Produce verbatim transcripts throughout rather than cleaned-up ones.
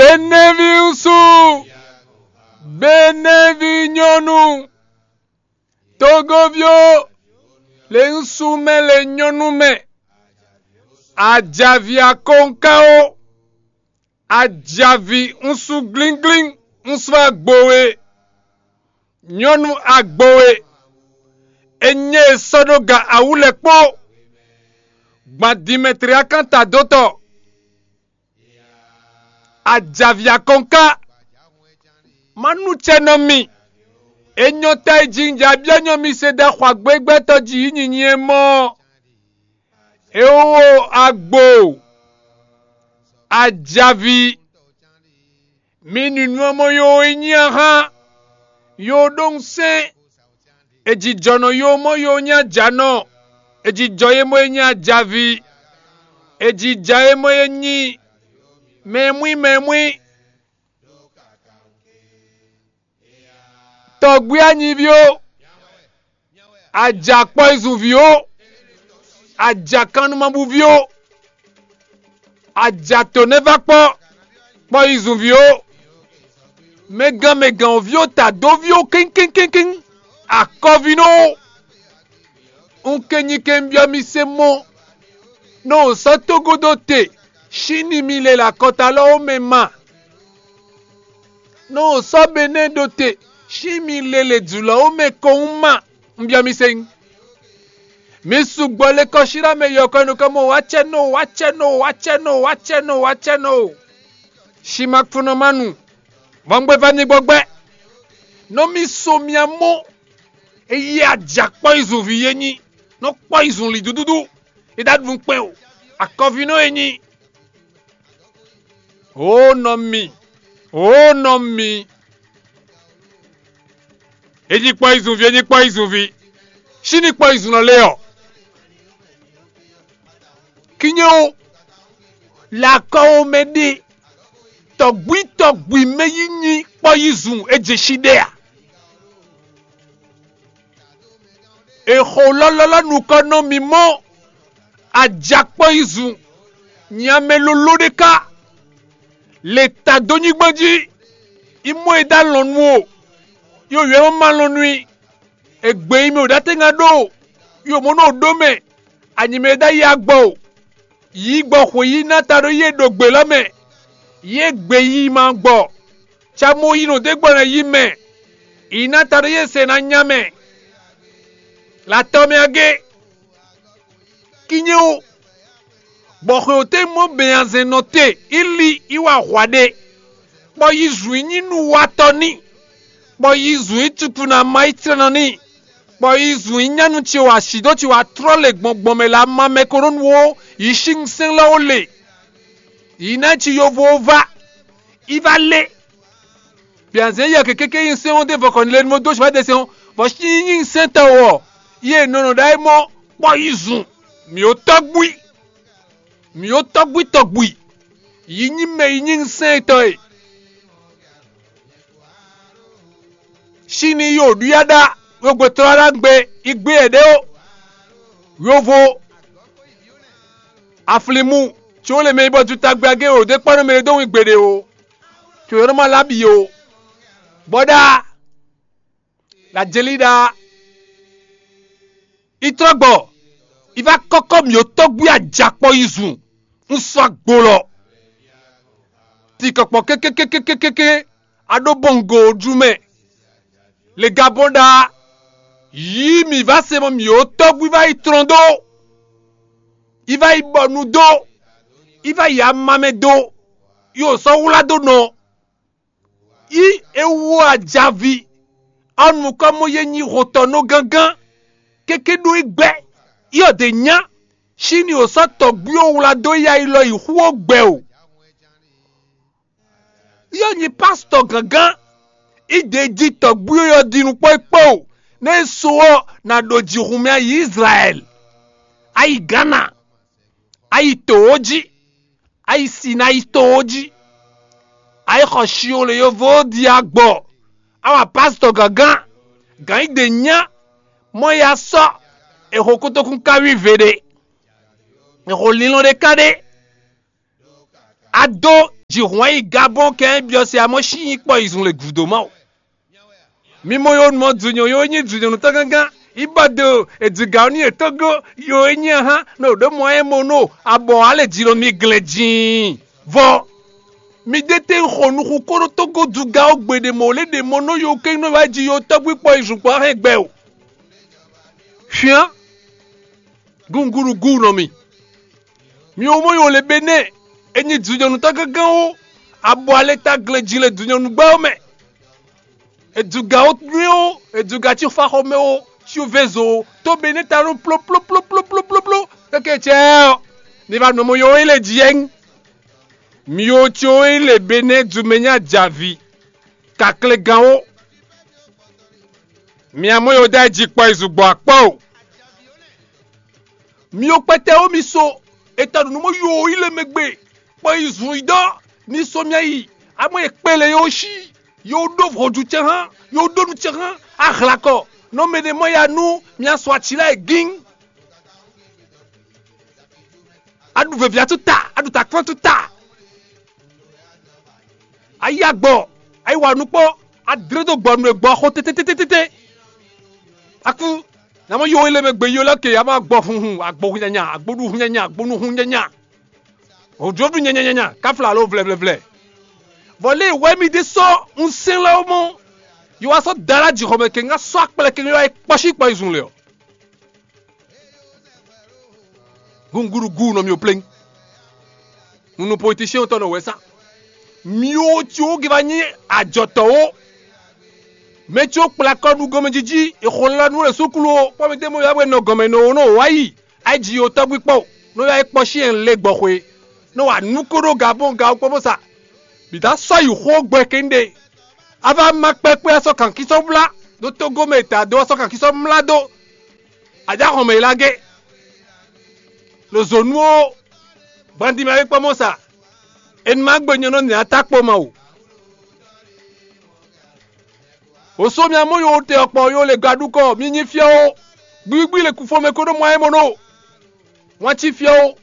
Benɛví ŋsu, Benɛví nyɔ́nu, togoví ó, le ŋsu mɛ, le nyɔ́nu mɛ, ajavi akɔnká ó, ajavi ŋsu glínglín, ŋsu agbo we, nyɔ́nu agbo we, e nyɛ e sɔ́ ɖó ga awú lɛ́ɛ kpó, gbɔn Dimetliyákan tadótɔ, ajavi akɔnká, má nú cɛ nɔ mi, e nyɔ́ ta e jí un ja byɔ́ nyɔ́ mi se ɖo axwagbégbɛ́tɔ́ jí yí nyinyi e mɔ ɔ́. É wó agbo, ajavi, mi nǔnywɛ́ mɔ yo e nyí ahán, yo ɖó ŋsɛn, è jǐjɔ́ nɔ yo mɔ yo nyí ajǎnɔ, è jǐjɔ́ ye mɔ e nyí ajavi, è jǐjá ye mɔ e nyí mɛmwí mɛmwí, tɔgbí anyíví ó, ajakpɔ́yizunví ó, ajakannumabúví ó, ajatɔ̌nɛ́vakpɔ́ kpɔ́yizunví ó, mɛgán mɛgán ɔ́ ví ó, tadóví ó, kɛ́nkɛ́nkɛ́nkɛ́n, akɔvínɔ ó. Un kɛn nyi kɛn byɔ́ mi se mɔ, nɔ sɔ́ tógódó te, sín ni mi lɛ ɖo akɔta lɔ ó mɛ ma. Nɔ sɔ́ Benɛ́ ɖo te, sín mi lɛ lě jǔlɔ́ ó mɛ kɔn ma. Un byɔ́ mi se. Mi sugbɔ le kɔsíɖá mɛ yɔkɔ́ nukɔn mɔ wá cɛ nɔ wá cɛ nɔ wá cɛ nɔ wá cɛ nɔ wá cɛ nɔ. Simakfunɔmanu, vɔngbɛ́vá ní gbɔgbɛ́. Nɔ mi so mia mɔ, eye ajakpɔ́yizunví e nyí, nɔ kpɔ́yizun li dúdúdú, e ɖo aɖu kpɛn o, akɔvínɔ e nyí. Ó nɔ mi, ó nɔ mi, e nyí kpɔ́yizunví, e nyí kpɔ́yizunví, sín ní kpɔ́yizun lɔ lé ɔ́. Kínyɛ ó, le akɔ ó mɛ ɖe, tɔgbí tɔgbí mɛ yí nyí kpɔ́yizun e jɛ sí ɖɛ a? È xo lɔlɔlɔ nukɔn nɔ mì mɔ, ajakpɔ́yizun, nyi amɛ loló ɖé ká, le ta dó nyígbɔ́n jí, yi mɔ e dó alɔn nu o, yi wǒ ma lɔn nú i, è gbě yi mɛ wǒ ɖó atɛ́ngán ɖó, yi wǒ mɔ nú wǒ ɖó mɛ, anyi mɛ e dó ayi agbɔ o, yǐ gbɔ xwě yi ná ta ɖó yě ɖo gbě lɔ mɛ, yě gbě yi ma gbɔ, ca mo yi nɔ dó gbɔ ná yi mɛ, yi ná ta ɖó yě se ná nya mɛ. Latɔ́ mɛ agé, kínyɛ ó, bɔ xwěwǒtɛn mɔ bɛnyanzɛn nɔ te, yi li yi wa hwa ɖe, bɔ yi zun yi nyí nuwatɔ́ n'i, bɔ yi zun yi cuku nɔ ama yi tlɛ́nɔ n'i, bɔ yi zun yi nyanu ce wa asǐ dó ce wa tlɔ́ lě gbɔn gbɔn mɛ lě ama mɛ ko nɔ nu ó, yi sín sɛ́n lɔ ó le, yi ná ci yovo ó vá, yi vá lé. Byanzɛn yɛ keke ke nyi sɛn ɔ́ ɖe vɔkɔ ni lɛ nu dó sɔ ɖe sɛn ɔ́, vɔ sí nyi sɛn tɔ wɔ, yɛ nɔnɔ ɖa é mɔ kpɔ yi zun, mǐ ó tɔgbui, mǐ ó tɔgbui tɔgbui, yi nyi mɛ yi nyi sɛn tɔ e. Sín ní yi wǒ ɖu ya ɖa, wegbe tlɔ́ ɖa gbe, yi gbé yɛ̌ɖɛ́ ó. Yovo, aflimu, tso le mɛ yi bɔ jutagbɛ agé wǒ ɖe kpɔ́ nú mɛ ɖé dó wín gbeɖé ó. Tso yɔ́ nɔ ma lá bǐ ó. Bɔ ɖa, la jeli ɖa, yi trɔ́ gbɔ, yi va kɔ́kɔ́ mǐ ó tɔ́gbui ajakpɔ yi zun, un sɔ́ agbo lɔ. Tikɔkpɔ kékékékékéké, a ɖó bɔngo jú mɛ. Le gabɔn ɖa, yǐ mǐ va se mɔ mǐ ó tɔ́gbui va yi tlɔ́n dó, yi va yi bɔ nu dó, yi va yi ama mɛ dó, yi wǒ sɔ́ wlá dó nɔ. Yi é wú ajaví, ɔ́ nukɔn mɔ yě nyi hotɔ́nɔ gángan, kéké ɖó yi gbɛ́, yi ɔ́ ɖě nyá, sín ni wǒ sɔ́ tɔ̌gbí ó wlá dó yi ayi lɔ yi xú ó gbɛ o. Yɔ nyi pásítɔ gǎngán, yi ɖě jí tɔ̌gbí ó yɔ ɖi nukpɔ́ yi kpó, nɛ́ é so ɔ́, nǎ ɖo jǐ hun mì ayi Izlayɛ́li, ayi Gǎna, ayi tǒ ó jí, ayi Sinayi tǒ ó jí, ayi xɔ Siwole yovo ó ɖi agbɔ, awa pásítɔ gǎngán, gǎn yi ɖě nyá, mɔ ya sɔ́, è xo kótókún káwí ve ɖé, è xo linlɔn ɖé ká ɖé, a dó Jǐ hwɛ́n yi Gabɔn kɛn byɔ́ se amɔ́ sí nyí kpɔ yi zun le gǔdo má o. Mi mɔ yo mɔ dǔnyɔ yo e nyí dǔnyɔnú tɔn gángan, yi bɔ do e dǐgǎ ɔ́ n'i e tógó yo e nyí ahán nɔ ɖǒ mɔ ɛ mɔ nɔ abɔ ǎ lě jí nɔ mi glɛ́n jǐin. Vɔ mi ɖe te xɔ nuxu kó ɖó tógó dugá ɔ́ gbe ɖe mɔ̌ lě ɖe mɔ nɔ yo kɛ́n nɔ wá jí yo tɔ́gbí kpɔ yi zun kpɔ hɛn gbɛ o. Hwíán gúngúɖugú nɔ mi. Mi wo mɔ yo le be nɛ e nyi dujɔnutɔ́ gángan ó, abɔ ale ta glɛ́ jí le dujɔnugbá ɔ́ mɛ. Eduga ó nywɛ́ ó, eduga cí xɔxɔmɛ ó, cí vezo ó, tó be nɛ ta nɔ plóplóplóplópló keke cɛ ɔ́, ní va nɔ mɔ yo é le jí ɛ́. Mi yo cí ó é le be nɛ dumɛ nyá javi kaklegán ó. Mi amɔ yo dá jí kpɔ yi zùgbɔ akpɔ o. Mi ò kpɛtɛ ó mi so, è tɔ nǔ mɔ yo yi le mɛ gbe, kpɔ yi zun yi dɔ, ní so mia yi, amɔ e kpele yo shi, yo ɖó vodzu cɛ hã, yo ɖó nu cɛ hã, ahlakɔ, nɔ mɛ ɖe mɔ ya nú mia sɔ atsi lɛ́ɛ gín. Aɖu vevi atu ta, aɖu ta kpɔn tu ta. Ayi agbɔ, ayi wa nukpɔ, adre do gbɔ nu e gbɔ xo tete tete tete. Aku, na mɔ yo ele mɛ gbe yo lɛ ke ama gbɔ hunhun, agbo hunyanya, agbo nu hunyanya, agbo nu hunyanya. Ojodu nyanyanya, kafla alo vlɛvlɛvlɛ. Vɔ lé wɛ mi de sɔ un sɛn lɛ mɔ. Yo wa sɔ dala ji xɔmɛ ke nga sɔ akplɛ ke yo wa kpɔsi kpɔ izun le ɔ. Gunguru gu nɔ mi o pleng. Nunu politiciens tɔn nɔ wɛ sa. Mi o tso ge va nyi ajɔtɔ o. Mɛ tso kplakɔ nu gɔmɛjiji, exɔlanu le sukulu o, kpɔ mi de mo ya bɛ nɔ gɔmɛ nɔ o nɔ wa yi. Ayi ji o tɔgbi kpɔ, nɔ ya kpɔ si en le gbɔ xwe. Nɔ wa nu ko ɖo ga bɔn ga o kpɔ bɔ sa. Bi da sɔ yi xo gbɛ kende. A va ma kpɛkpɛ asɔ kankisɔ bla ɖo togo mɛ ta do asɔ kankisɔ mla do. Aja xɔmɛ yi la ge. Lo zonu o, gbandi ma yi kpɔ mɔ sa. Enu ma gbe nyɔ nɔ nya ta kpɔ ma o. O so mi amɔ yo te ɔkpɔ yo le gadu kɔ mi nyi fiɔ o. Gbigbi le kufɔ mɛ ko ɖo mɔ ayé mɔ no. Wọn ci fiɔ o.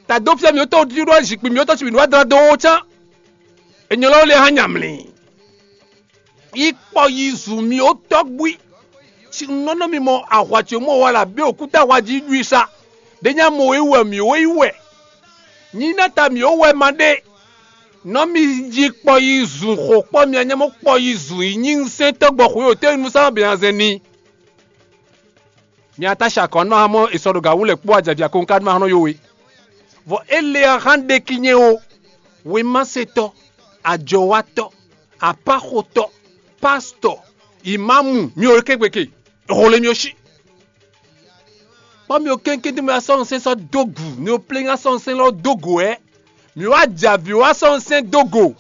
Ta dó fia mi wotɔ wotí ɖo zikpui mi wotɔ ci mi nǔ adra dó wo cán. Enyɔ lɔ le hã nyamlin. Yi kpɔ yi zu mi wotɔ gbui. Ci nɔnɔ mi mɔ ahwa ce mɔ wa la be okuta wa ji ɖui sa. Ɖe nya mɔ yi wɛ mi wo yi wɛ. Nyi na ta mi wo wɛ ma ɖe. Nɔ mi yi kpɔ yi zu xo kpɔ mi anya mɔ kpɔ yi zu yi nyi nsɛn tɔgbɔ xwe o te nu sa bɛ azɛn ni. Mi ata sa kɔn nɔ hamɔ esɔ ɖo ga wú lɛ kpó ajavi akɔnka nɔ hanɔ yo we. Vɔ ele ahan ɖe ki nyɛ o, wemasetɔ, ajɔwatɔ, apaxotɔ, pastɔ, imamu, mi o kegbe ke, hole mi o si. Kpɔ mi o kɛnkɛn mi asɔ nsɛn sɔ dogu, mi o plɛn asɔ nsɛn lɔ dogo ɛ. Mi wa javi wa sɔ nsɛn dogo,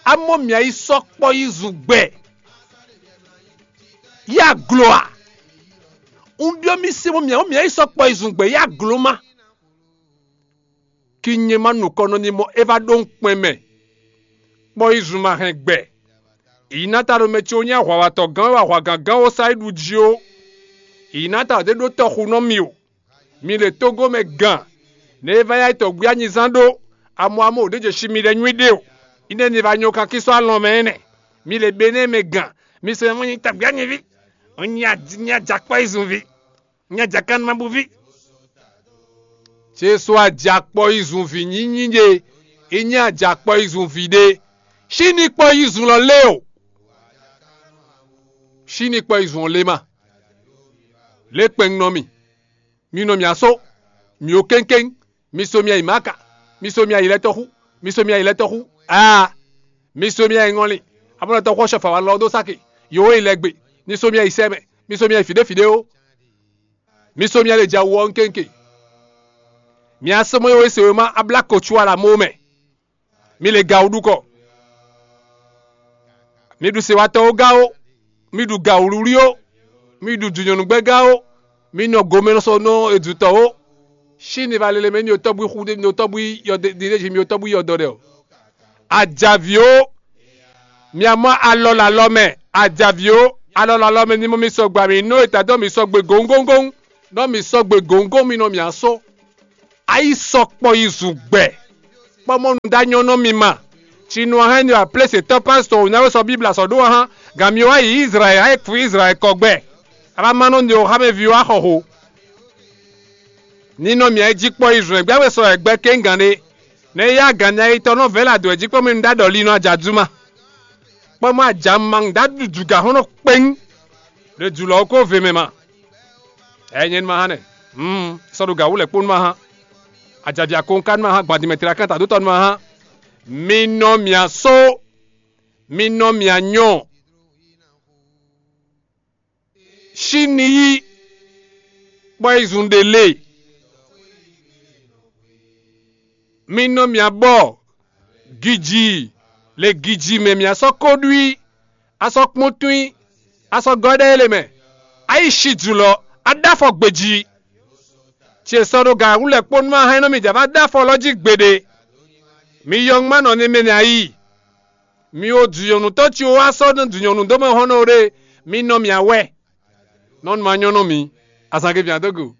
amɔ mi ayi sɔ kpɔ yi zu gbɛ. Ya glo a? Un byɔ́ mi se mɔ mia mia yi sɔ kpɔ yi zun gbɛ ya glo ma. Ki nyɛ ma nukɔn nɔ ni mɔ é va ɖó ŋkpɛn mɛ. Kpɔ yi zun ma hɛn gbɛ. Yi na ta ɖo mɛ ce wo nyí ahwawatɔ gán wɛ ahwagán gán wo sa yi ɖu jí ó. Yi na ta ɖě ɖó tɔxu nɔ mi o. Mi le togo mɛ gán. Ne e va ya yi tɔgbí anyizán ɖó. Amɔ amɔ ò ɖě jɛ si mi ɖɛ nyuí ɖe o. Ine ni va nyɔ kankí sɔ́ alɔn mɛ ɛnɛ. Mi le benɛ́ mɛ gán. Mi se mɔ nyi tɔgbí anyiví. Nyi ajakpɔ yi zun vi. Nya jakannumabúví. Jesu ajakpɔ yi zun vǐ nyínyí ɖe, é nyí ajakpɔ yi zun vǐ ɖe. Síní kpɔ yi zun lɔ lé o. Síní kpɔ yi zun ɔ́ lé ma. Lé kpɛn nɔ mi. Mi nɔ mì asó. Mi ó kéŋkéŋ. Mi so mi ayi maka. Mi so mi ayi lɛtɔxú. Mi so mi ayi lɛtɔxú. Aa. Mi so mi ayi ŋɔli. Abɔlɔtɔ xɔ sɔfa wa lɔ dó sáke. Yòówó yi lɛ gbe. Mi so mi ayi sɛmɛ. Mi so mi ayi fìɖéfìɖé ó. Mi so mi le ja wɔ nkenke. Mi asɔmɔ yo se ma abla ko tsu ala mo mɛ. Mi le ga wuɖu kɔ. Mi ɖu sewatɔwo ga ó. Mi ɖu ga wlúwlí ó. Mi ɖu dǔnyɔnugbɛ́ ga ó. Mi nɔ gomɛ sɔ nɔ edutɔ ó. Sín ni va lele mɛ ní o tɔ́bú xú ní o tɔ́bú yɔdɛ ní mi o tɔ́bú yɔdɔ ɖɛ o. Ajaví ó. Mi amɔ alɔ le alɔ mɛ, ajaví ó, alɔ le alɔ mɛ ní mɔ mi sɔgbe ami nɔ eta dɔ mi sɔgbe gǒngóngón, nɔ mi sɔgbe gǒngón mi nɔ mi asó. Ayi sɔkpɔ yi zun gbɛ. kpɔ́ mɔ nú dó anyɔ́ nɔ mi ma. Cinu ɔ́ hɛn nyi aplésětɔ́ pásítɔ wǒ ná wé sɔ́ Bíbla sɔ́ ɖó ɔ́ hán, gan mi wá yi Izlayɛ́li, ayé kú Izlayɛ́li kɔ gbɛ. A vá má nɔ nyi o xá mɛ ví wá xɔ ho. Ninɔ mǐ ayé jí kpɔ́ Izlayɛ́li gbɛ́ wé sɔ́ wɛ gbɛ kéŋgan ɖé. Nɛ́ yá gan mi ayitɔ́ nɔ vɛ̌ lɛ adɔ̌ jí kpɔ́ mi nú dó aɖɔ̌línɔ ajǎjúma. Kpɔ́ mɔ ajǎma dó aɖuɖu gǎ xɔ́n nɔ kpɛ́n. Ɖe jǔlɔ ɔ́ ko ve mɛ ma. Ɛyɛ nyɛ nú ma hán nɛ. Mm, sɔ́ ɖo gǎ wú lɛ́ kpó nú ma hán. Ajavia ko ka nú ma hán gbadimɛ tlɛ akán ta dó tɔ nú ma hán. Mi nɔ mia só, mi nɔ mia nyɔ. Síni yí kpɔ́ yi zun ɖe lé. Mi nɔ mia bɔ giji le giji mɛ mia sɔ́ ko ɖu í. A sɔ́ kpɔ́n tún i, a sɔ́ gɔ́ ɖɛ ele mɛ, a yi shi jǔlɔ, a ɖó afɔ gbejí. Ce sɔ́ ɖo gǎn wú lɛ́ kpó nú ma hɛn nɔ mi jǎ bá dó afɔ lɔ jí gbeɖé. Mi yɔngmánɔ ní mɛ nɛ a yí. Mi wo dǔnyɔ̌nutɔ́ ci wá sɔ́ nú dǔnyɔ̌nu dó mɛ hɔn nɔ ɖe, mi nɔ mì awɛ. Nɔ́ nú ma nyɔ́ nɔ mì. Azǎngevǐ ǎ dó go.